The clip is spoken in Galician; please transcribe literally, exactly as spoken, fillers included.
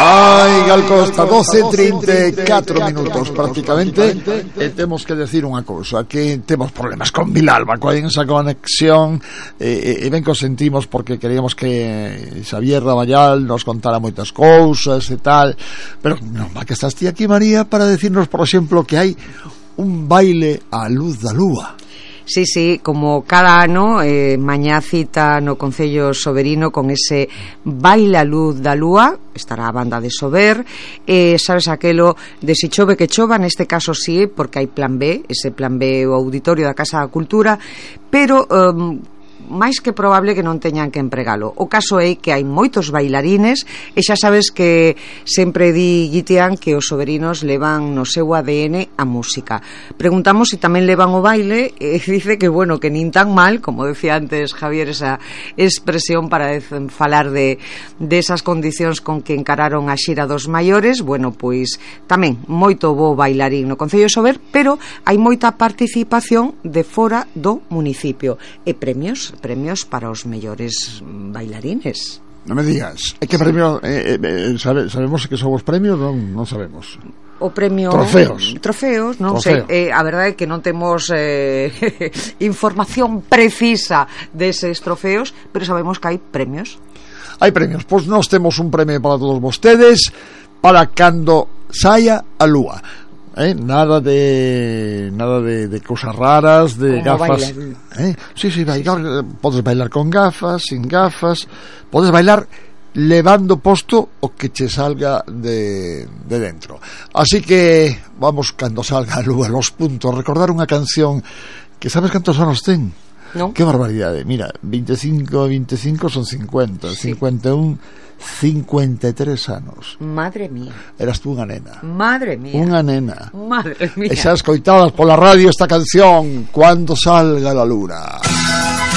Ai, Gal Costa, doce e trinta e catro minutos prácticamente. E temos que decir unha cousa, que temos problemas con Vilalba, coa esa conexión, e, e ben que o sentimos porque queríamos que Xavier Raballal nos contara moitas cousas e tal, pero non, va que estás ti aquí, María, para decirnos, por exemplo, que hai un baile á luz da lúa. Sí, sí, como cada ano, eh, mañá cita no Concello Soberino con ese baile a luz da lúa, estará a banda de Sober, eh, sabes aquelo de si chove que chova, neste caso sí, porque hai plan B, ese plan B, o Auditorio da Casa da Cultura, pero... Um, máis que probable que non teñan que empregalo. O caso é que hai moitos bailarines e xa sabes que sempre di Guitián que os soberinos levan no seu A D N a música. Preguntamos se si tamén levan o baile e dice que, bueno, que nin tan mal, como decía antes Javier, esa expresión para falar de, de esas condicións con que encararon a xira dos maiores. Bueno, pois tamén moito bo bailarín no Concello de Sober, pero hai moita participación de fora do municipio e premios premios para os mellores bailarines. Non me digas, é que premio eh, eh, sabe, sabemos que son os premios, non, non sabemos. O premio trofeos, trofeos non Trofeo. sei, eh, a verdade é que non temos eh, información precisa deses trofeos, pero sabemos que hai premios. Hai premios, pois nós temos un premio para todos vostedes para cando saia a lúa. Eh, nada de nada de, de cousas raras, de como gafas. Eh? Sí, sí, bailar, podes bailar con gafas, sin gafas, podes bailar levando posto o que che salga de, de dentro. Así que vamos, cando salga a lúa, los puntos, recordar unha canción que sabes cantos anos ten? Non? Que barbaridade, mira, veinticinco e veinticinco son cincuenta, sí. cincuenta e un, cincuenta e tres anos. Madre mía. Eras tú unha nena. Madre mía. Unha nena. Madre mía. E xa escoitabas pola radio esta canción, Cuando salga la luna.